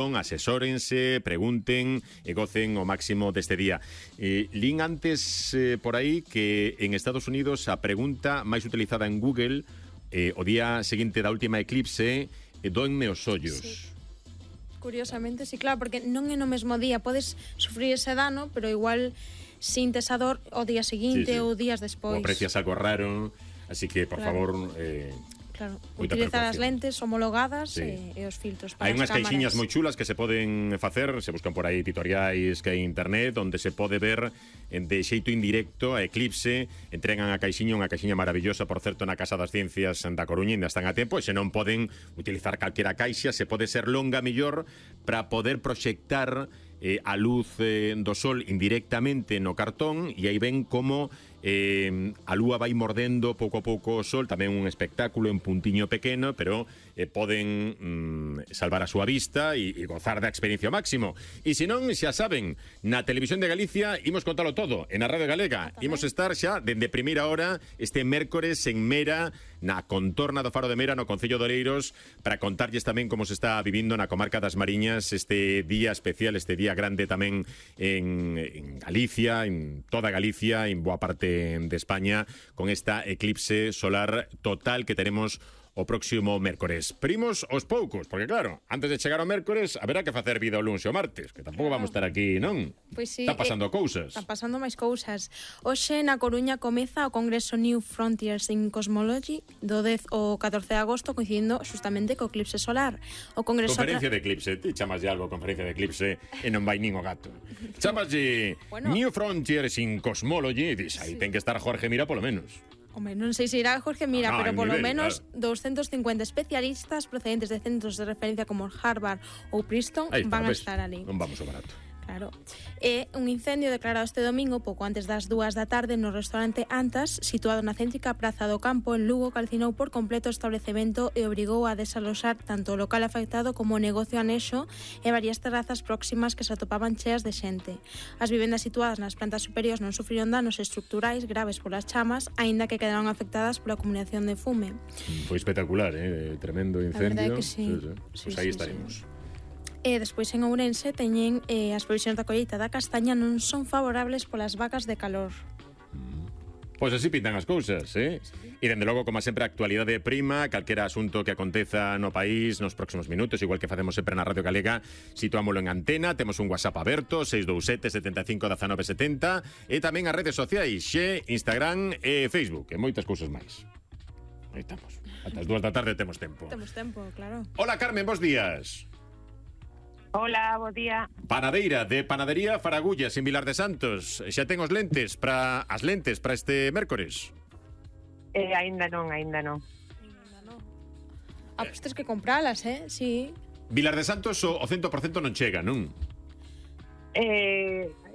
asesórense, pregunten e gocen o máximo deste día. Lín antes por aí que en Estados Unidos a pregunta máis utilizada en Google o día seguinte da última eclipse doenme os ollos. Sí. Curiosamente, sí, claro, porque non é no mesmo día, podes sufrir ese dano, pero igual sintes a dor o día seguinte ou días despois. Ou aprecias algo raro, así que, por favor... Claro, utilizar as lentes homologadas e os filtros para as cámaras. Hai unhas caixiñas moi chulas que se poden facer, se buscan por aí tutoriais que hai en internet, onde se pode ver de xeito indirecto a eclipse. Entregan a caixiña, unha caixiña maravillosa, por certo, na Casa das Ciencias da Coruña, ainda están a tempo, e se non poden utilizar calquera caixa, se pode ser longa mellor para poder proxectar a luz do sol indirectamente no cartón, e aí ven como a lúa vai mordendo pouco a pouco o sol, tamén un espectáculo en puntiño pequeno, pero poden salvar a súa vista e gozar da experiencia ao máximo. E se non, xa saben, na Televisión de Galicia imos contalo todo, en a Radio Galega imos estar xa dende primeira hora este mércores en Mera, na contorna do Faro de Mera, no Concello de Oleiros, para contarlles tamén como se está vivindo na comarca das Mariñas este día especial, este día grande tamén en Galicia, en toda Galicia, en boa parte de España, con esta eclipse solar total que tenemos o próximo mércores. Primos aos poucos, porque claro, antes de chegar ao mércores haberá que facer vida o lunes e o martes, que tampouco vamos estar aquí, non? Pois sí, está pasando cousas. Está pasando máis cousas. Hoxe na Coruña comeza o Congreso New Frontiers in Cosmology do 10 ao 14 de agosto, coincidindo justamente co eclipse solar. O Congreso Conferencia de eclipse, ti chamas de algo conferencia de eclipse e non vai nin o gato. Chamas de New Frontiers in Cosmology e dis, aí ten que estar Jorge Mira polo menos. Hombre, non sei se irá Jorge Mira, pero polo menos 250 especialistas procedentes de centros de referencia como Harvard ou Princeton van a estar ali. Non vamos ao barato. Claro. E un incendio declarado este domingo pouco antes das 2 da tarde no restaurante Antas, situado na céntrica Praza do Campo en Lugo, calcinou por completo o establecemento e obrigou a desaloxar tanto o local afectado como o negocio anexo e varias terrazas próximas que se atopaban cheas de xente. As vivendas situadas nas plantas superiores non sufriron danos estruturais graves polas chamas, aínda que quedaron afectadas pola acumulación de fume. Foi espectacular, tremendo incendio. A verdade que sí. Pois aí estaremos. E despois en Ourense teñen as previsións da colleita da castaña non son favorables polas vacas de calor. Pois así pintan as cousas, E dende logo, como sempre, a actualidade prima, calquera asunto que aconteza no país nos próximos minutos, igual que facemos sempre na Radio Galega, situámoslo en antena, temos un WhatsApp aberto, 627 75 19 70, e tamén as redes sociais, Instagram e Facebook, e moitas cousas máis. Aí estamos. Ata as 2 da tarde temos tempo. Temos tempo, claro. Hola, Carmen, bons días. Hola, bo día. Panadeira de Panadería Faragullas en Vilar de Santos. Xa ten as lentes para este mércores? Aínda non. Pois tens que compralas, sí. Vilar de Santos o 100% non chega, non?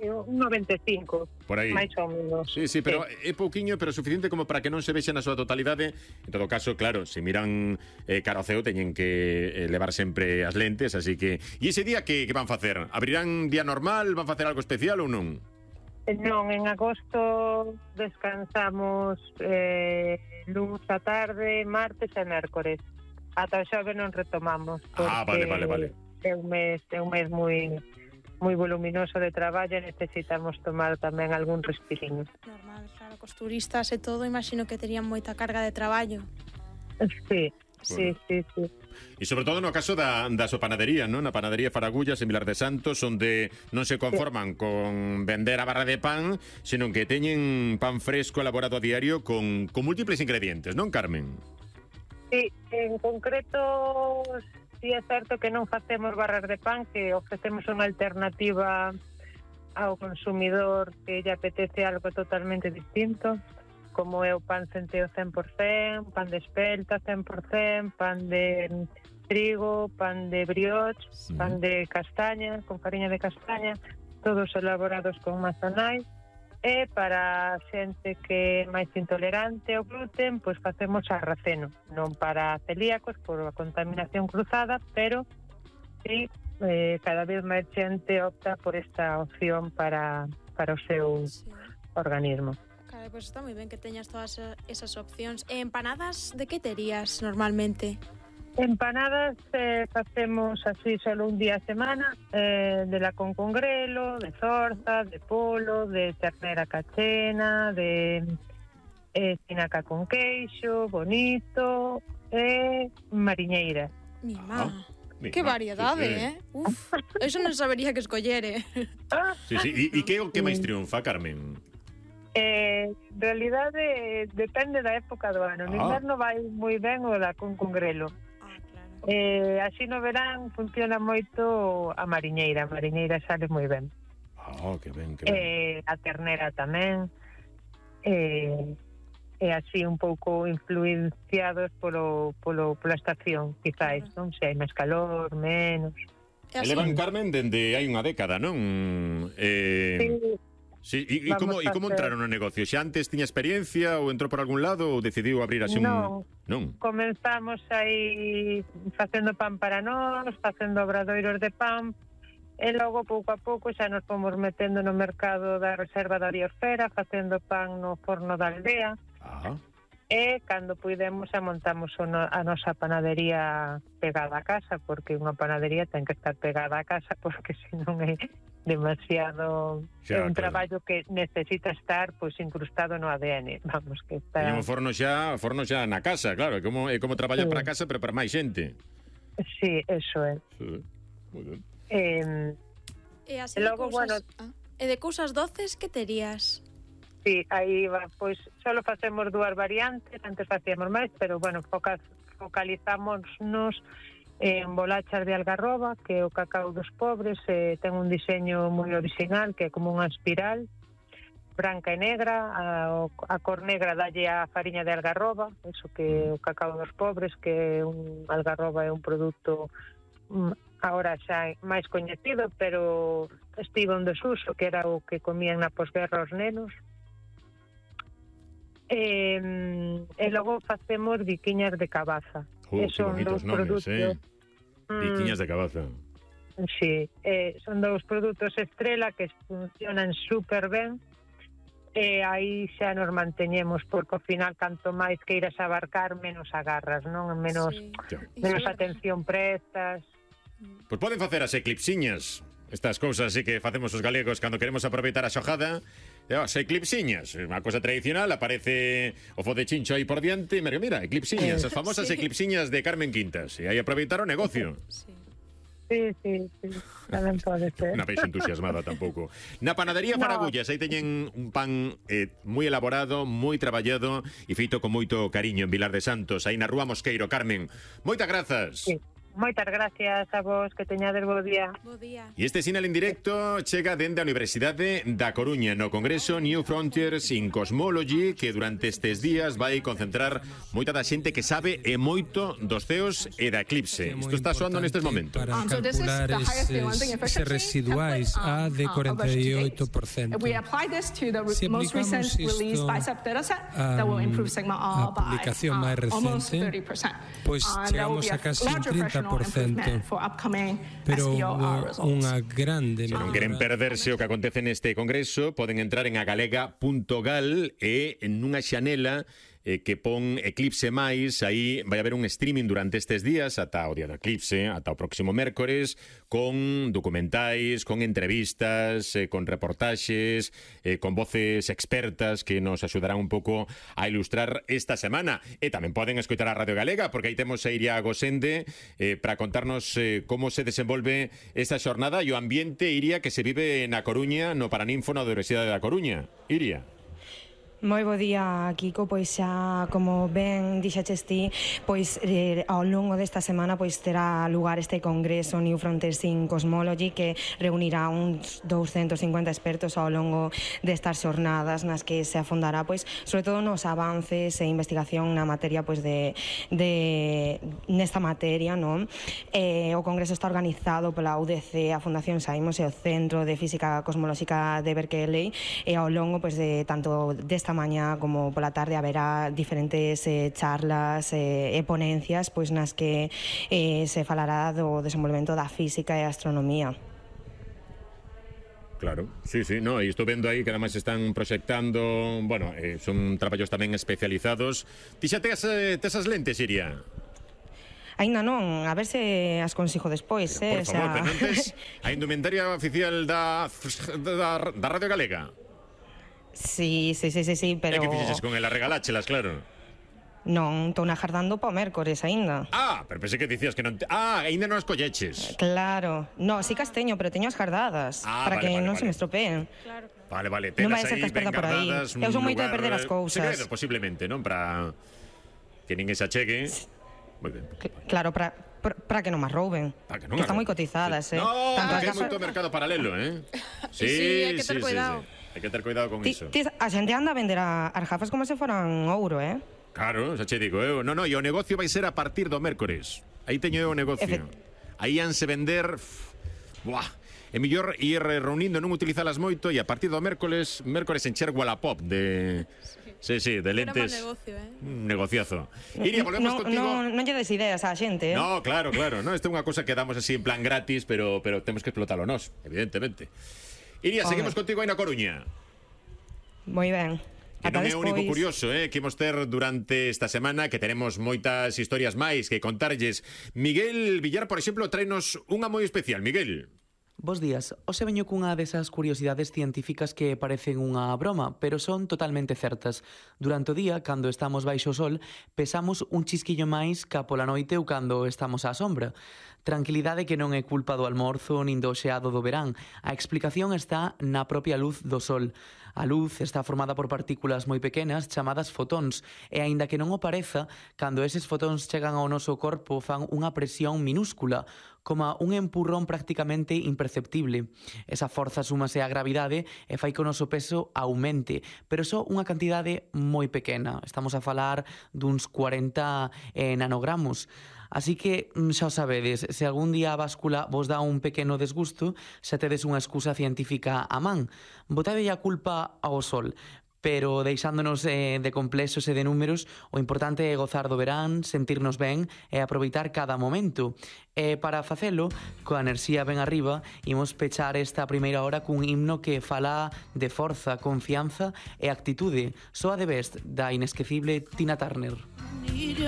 Un 95, por aí. máis ou menos. Sí, pero é pouquiño, pero suficiente como para que non se vexa na súa totalidade. En todo caso, claro, se miran cara ao ceo, teñen que levar sempre as lentes, así que... E ese día que van facer? Abrirán día normal? Van facer algo especial ou non? Non, en agosto descansamos luns a tarde, martes e mércores. Ata o xoves non retomamos. Vale. É un mes moi voluminoso de traballo, necesitamos tomar tamén algún respirinho. Normal, claro, cos turistas e todo, imagino que terían moita carga de traballo. Sí. E sobre todo no caso da súa panadería, non? Na Panadería Faragullas en Vilar de Santos, onde non se conforman con vender a barra de pan, senón que teñen pan fresco elaborado a diario con múltiples ingredientes, non, Carmen? Sí, en concreto... Sí, é certo que non facemos barras de pan, que ofrecemos unha alternativa ao consumidor que lle apetece algo totalmente distinto, como é o pan centeo 100%, pan de espelta 100%, pan de trigo, pan de brioche, pan de castaña, con fariña de castaña, todos elaborados con mazanais. E para xente que é máis intolerante ao gluten, pois facemos sarraceno, non para celíacos por a contaminación cruzada, pero sí, cada vez máis xente opta por esta opción para o seu organismo. Claro, pois está moi ben que teñas todas esas opcións. E empanadas, de que terías normalmente? Empanadas facemos así solo un día a semana, de lacón con grelo, de zorza, de polo, de ternera cachena, de espinaca con queixo, bonito e mariñeira. Mi má. Que variedade, Uf, eso non sabería que escollere. Sí, sí. E que é o que máis triunfa, Carmen? En realidade depende da época do ano. No inverno vai moi ben o lacón con grelo. Claro. Así no verán funciona moito a mariñeira. A mariñeira sale moi ben. Que ben, que ben. A ternera tamén. E así un pouco influenciados pola estación, quizáis, non? Se hai máis calor, menos. Elevan, Carmen, dende hai unha década, non? Sí. E como entraron no negocio? Xa antes tiña experiencia ou entrou por algún lado ou decidiu abrir así non. Non? Comenzamos aí facendo pan para nós, facendo obradoiros de pan, e logo pouco a pouco xa nos fomos metendo no mercado da reserva da biosfera, facendo pan no forno da aldea. E cando puidemos xa montamos a nosa panadería pegada a casa, porque unha panadería ten que estar pegada a casa, porque senón é demasiado un traballo que necesita estar pois incrustado no ADN, vamos, que está. E o forno xa na casa, claro, é como traballar para casa, pero para máis xente. Sí, eso é. Sí, moi ben. E así logo, e de cousas doces que terías? Sí, aí va, pois solo facemos 2 variantes, antes facíamos máis, pero bueno, focalizámonos en bolachas de algarroba, que é o cacao dos pobres, ten un diseño moi original, que é como unha espiral, branca e negra, a cor negra dalle a fariña de algarroba, eso que é o cacao dos pobres, que un algarroba é un produto agora xa máis coñecido, pero estivo en desuso, que era o que comían na posguerra os nenos. E logo facemos biquiñas de cabaza. Son dous produtos, biquiñas de cabaza. Sí, son 2 produtos estrela que funcionan super ben. E aí xa nos manteñemos, porque ao final canto máis queiras abarcar, menos agarras, non? Menos atención prestas. Pois poden facer as eclipsiñas. Estas cousas así que facemos os galegos cando queremos aproveitar a xojada. As eclipsiñas, unha cosa tradicional, aparece o fo de chincho aí por diante, mira, eclipsiñas, as famosas eclipsiñas de Carmen Quintas, e aí aproveitar o negocio. Sí, tamén pode ser. Na peixe entusiasmada tampouco. Na panadería Faragullas, aí teñen un pan moi elaborado, moi traballado e feito con moito cariño en Vilar de Santos, aí na Rúa Mosqueiro. Carmen, moitas grazas. Sí. Moitas gracias a vos, que teñades bo día. Bo día. E este sinal en directo chega dende a Universidade da Coruña no Congreso New Frontiers in Cosmology, que durante estes días vai concentrar moita da xente que sabe e moito dos ceos e da eclipse. Isto está soando nestes momentos. Para calcular eses residuais A de 48%. Se aplicamos isto a publicación máis recente, pois chegamos a casi un 30%. Pero unha grande... Se non queren perderse o que acontece neste congreso, poden entrar en agalega.gal e en unha xanela que pon Eclipse máis, aí vai haber un streaming durante estes días ata o día do eclipse, ata o próximo mércores, con documentais, con entrevistas, con reportaxes, con voces expertas que nos axudarán un pouco a ilustrar esta semana. E tamén poden escoitar a Radio Galega, porque aí temos a Iria Gosende para contarnos como se desenvolve esta xornada e o ambiente, Iria, que se vive na Coruña, no Paraninfo, na Universidade da Coruña. Iria. Moi bo día, Kiko. Pois xa, como ben dixaches ti, pois ao longo desta semana pois terá lugar este congreso New Frontiers in Cosmology, que reunirá uns 250 expertos ao longo destas xornadas, nas que se afondará pois sobre todo nos avances e investigación na materia pois de nesta materia, non? O congreso está organizado pola UDC, a Fundación Saimos e o Centro de Física Cosmolóxica de Berkeley, e ao longo pois de tanto desta mañá como pola tarde haberá diferentes charlas e ponencias pois nas que se falará do desenvolvemento da física e a astronomía. Claro, sí, no, e estou vendo aí que además están proxectando, bueno, son traballos tamén especializados. Ti xa tes as lentes, Iria? Aínda non, a ver se as consigo despois, Por favor, pero antes, a indumentaria oficial da Radio Galega. Sí, pero... E que fixeches con ela? Regaláchelas, claro. Non, estou agardando para o mércores aínda. Pero pensei que dicías que non... aínda non as colleches. Claro. No, sí que as teño, pero teño as gardadas para que non se me estropeen. Claro. Vale, non vai tenas ser que aí as perda ben por aí. guardadas Eu son moito de perder as cousas. Secreto, posiblemente, non? Para que ninguén se achegue. Moi ben. Claro, para que non me rouben. Que están moi cotizadas, No, porque hai moito mercado paralelo, Sí, hai que ter cuidado. Hai que ter cuidado con iso. A xente anda a vender as gafas como se foran ouro, Claro, xa che digo eu. No, e o negocio vai ser a partir do mércores. Aí teño eu o negocio. Aí hanse vender... Buah, é mellor ir reunindo, non utilizalas moito, e a partir do mércores encher Wallapop de... Sí, de lentes. Era mal negocio, Un negociazo. Iria, volvemos contigo. Non lle des ideas á xente, No, claro. No, isto é unha cosa que damos así en plan gratis, pero temos que explotalo nós, evidentemente. Iria, seguimos contigo aí na Coruña. Moi ben. Que non é o único curioso que imos ter durante esta semana, que teremos moitas historias máis que contarlles. Miguel Villar, por exemplo, tráenos unha moi especial. Miguel. Bos días. Hoxe veño cunha desas curiosidades científicas que parecen unha broma, pero son totalmente certas. Durante o día, cando estamos baixo o sol, pesamos un chisquillo máis ca pola noite ou cando estamos á sombra. Tranquilidade que non é culpa do almorzo nin do xeado do verán. A explicación está na propia luz do sol. A luz está formada por partículas moi pequenas chamadas fotóns e, aínda que non o pareza, cando eses fotóns chegan ao noso corpo fan unha presión minúscula, como un empurrón prácticamente imperceptible. Esa forza súmase á gravidade e fai que o noso peso aumente, pero só unha cantidade moi pequena. Estamos a falar duns 40 nanogramos. Así que xa o sabedes, se algún día a báscula vos dá un pequeno desgusto, xa tedes unha excusa científica a man. Botade a culpa ao sol, pero deixándonos de complexos e de números, o importante é gozar do verán, sentirnos ben e aproveitar cada momento. E para facelo, coa enerxía ben arriba, imos pechar esta primeira hora cun himno que fala de forza, confianza e actitude. Soa de Best, da inesquecible Tina Turner.